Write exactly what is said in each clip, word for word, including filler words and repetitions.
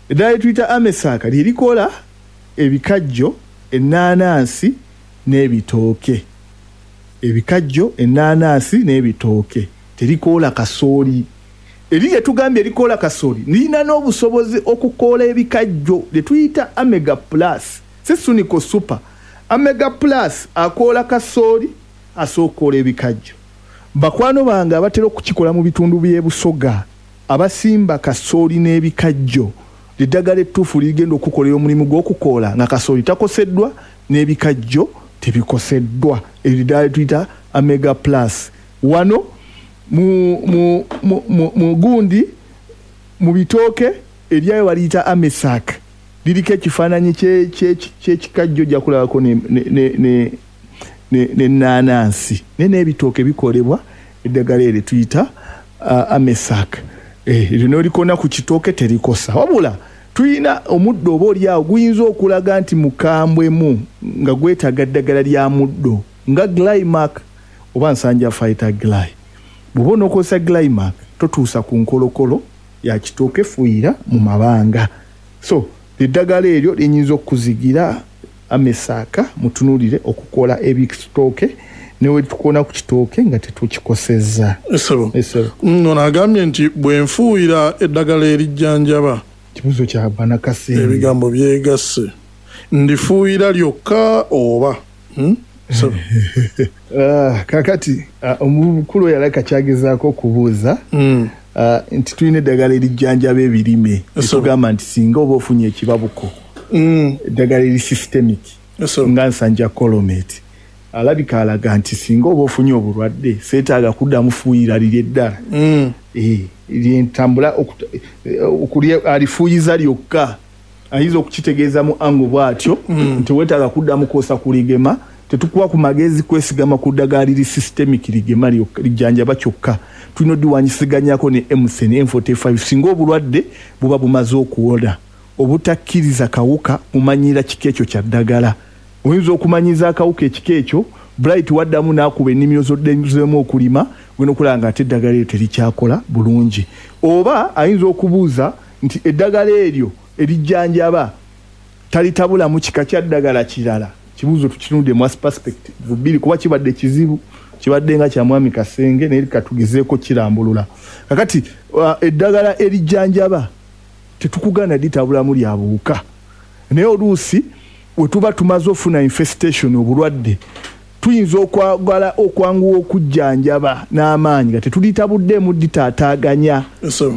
Eddagala lyetuyita Amesaaka lyerikola ebikajjo, ennaanansi n'ebitooke. Ebikajjo, ennaanansi n'ebitooke, terikoola kasooli. Eri lyetugambye erikoola kasooli lirina n'obusobozi okukoola ebikajjo, lyetuyita Amega Plus, si Suniko Super. Amega Plus akoola kasooli, asobola okukoola ebikajjo. Bakwano bange abatera okukikola mu bitundu by'e Busoga, abasimba kasooli n'ebikajjo, eddagala ettuufu ligenda okukolera omulimu gw'okukoola nga kasooli takoseddwa n'ebikajjo tebikoseddwa. Eryo ddagala lyetuyita Amega Plus. Wano mu, mu, mu, mu, mu gundi mu bitooke eryayo baliyita Amesak, liriko ekifaananyi ky'ekikajjo, ojja kulabako n'ennaanansi, naye n'ebitooke bikolebwa eddagala eryo tuyita uh, Amesak. Eryo n'olikona ku kitooke terikosa. Wabula tuyina omuddo oba oli awo guyinza okulaga nti mukambwemu nga gwetaaga ddagala lya muddo nga Glymark oba Nsanja Fighter Gly. Bw'oba onookozesa Glymark, totuusa ku nkolokolo ya kitooke, fuuyira mu mabanga. So eddagala eryo linyinza okukuzigira, Amesaaka, mutunuulire okukola ebitooke newe tukona ku kitooke nga tetukikosezza. Esebo, ono agambye nti bwe nfuuyira eddagala erijjanjaba, Kibuzo kya Banakasenge. Ebigambo byegasse, ndifuuyira lyokka oba hmm? Ah, kakati ah, omukulu oyo alabika kyagezaako okubuuza mm. ah, nti tulina eddagala erijjanjaba ebirime, etugamba nti singa oba ofunye ekibabuko, mm. eddagala eri systemic nga Nsanja Colomate, alabika alaga nti singa oba ofunye obulwadde seetaaga kuddamu fuuyira liri eddala mm. eh, lyentambula alifuuyiza lyokka. Ayinza okukitegeeza mu ango bw'atyo mm. nti weetaaga kuddamu kwosa kuligema. Tetukuwa ku magezi kwesigama ku ddagala liri systemic ligema lijjanjaba kyokka. Tulina oddiwanyisiganyako ne M S N M forty-five singa obulwadde buba bumaze okuwona. Obutakkiriza kawuka kumanyira kika ekyo kya ddagala. Oyinza okumanyiza akawuka ekika ekyo, Bright waddamu n'akuba ennimiro zoddezeemu okulima, ogenda okulaba nga ate eddagala eryo terikyakola bulungi. Oba ayinza okubuuza nti eddagala eryo erijjanjaba talitabulamu kika kya ddagala kirala. Kibuuzo tukinudde mu perspective bbiri, kuba kibadde kizibu, kibadde nga kya mwami Kasenge, naye katugezeeko kirambulula. Kakati uh, eddagala erijjanjaba tetukugaana litabulamu lya buwuka, naye oluusi we tuba tumaze ofuna infestation, obulwadde, tuyinza okwagala okwanguwa okujjanjaba n'amaanyi nga tetulitabuddeemu ditaataaganya.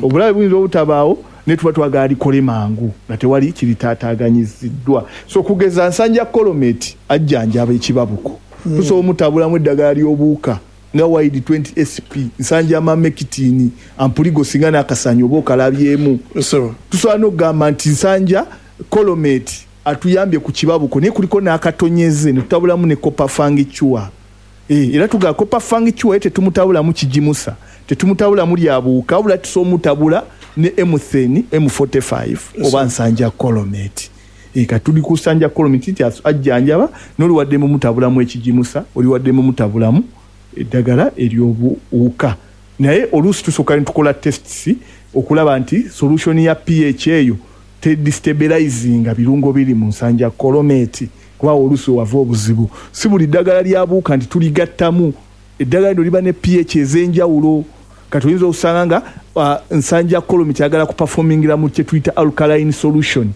Obulabe buyinza obutabaawo, naye tuba twagala likole mangu nga tewali kiritaataaganyiziddwa. So okugeza Nsanja Colomate ajjanjaba ekibabuko, mm. tusobola omutabulamu eddagala ly'obuwuka nga Wide twenty S P, Nsanja Emamectin, Ampligo, singa n'akasanyi oba okalabyemu. Tusobola n'okugamba nti Nsanja Colomate atuyambye ku kibabuko, naye kuliko n'akatonyeze ne tutabulamu ne Copper Fungicure. Eh, era tugamba Copper Fungicure ye tetumutabulamu kigimusa, tetumutabulamu lyabuuka, wabula tusobola omutabula ne M ten M forty-five oba Nsanja Colomate. E, katuli ku Nsanja Colomate nti ajjanjaba, n'oliwadde mumutabulamu ekigimusa, oliwadde mumutabulamu eddagala ery'obuwuka. Naye oluusi tusooka ne tukola tests okulaba nti solution ya P H eyo tedestabilizinga birungo biri mu Nsanja Colomate, kuba oluusi wava obuzibu. Si buli ddagala lya buuka nti tuligattamu. Eddagala lino liba ne P H ez'enjawulo. Kati oyinza okusanga nga uh, Nsanja Colomate ayagala kuperformingira mu kye tuyita alkaline solution.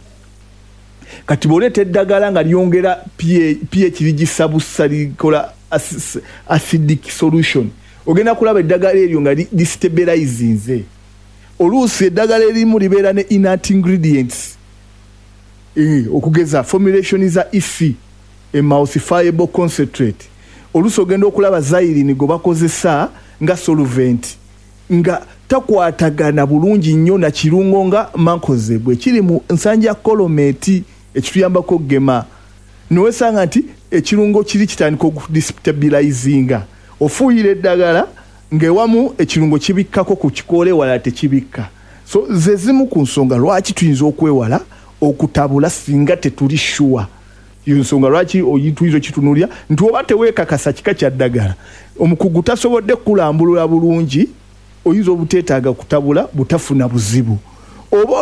Kati bw'oleeta eddagala nga lyongera P H, ligisabusa, likola acidic solution, ogenda kulaba eddagala eryo nga destabilizinze. Oluusi eddagala erimu libeera ne inert ingredients, e, okugeza formulation za E C, emulsifiable concentrate. Oluusi ogenda okulaba xylene gwe bakozesa nga solvent nga takwatagana bulungi nnyo na kirungo nga mancozeb ekiri mu Nsanja Colomate ekituyambako okugema, nowesanga nti ekirungo kiri kitandika okudestabilizinga. Ofuuyira eddagala ng'ewamu ekirungo kibikkako ku kikoola, ewalala tekibikka. So ze zimu ku nsonga lwaki tuyinza okwewala okutabula singa tetuli sure. Ensonga lwaki tuyinza okitunulira nti oba teweekakasa kika kya ddagala, omukugu tasobodde kukulambulula bulungi, oyinza obuteetaaga kutabula butafuna buzibu oba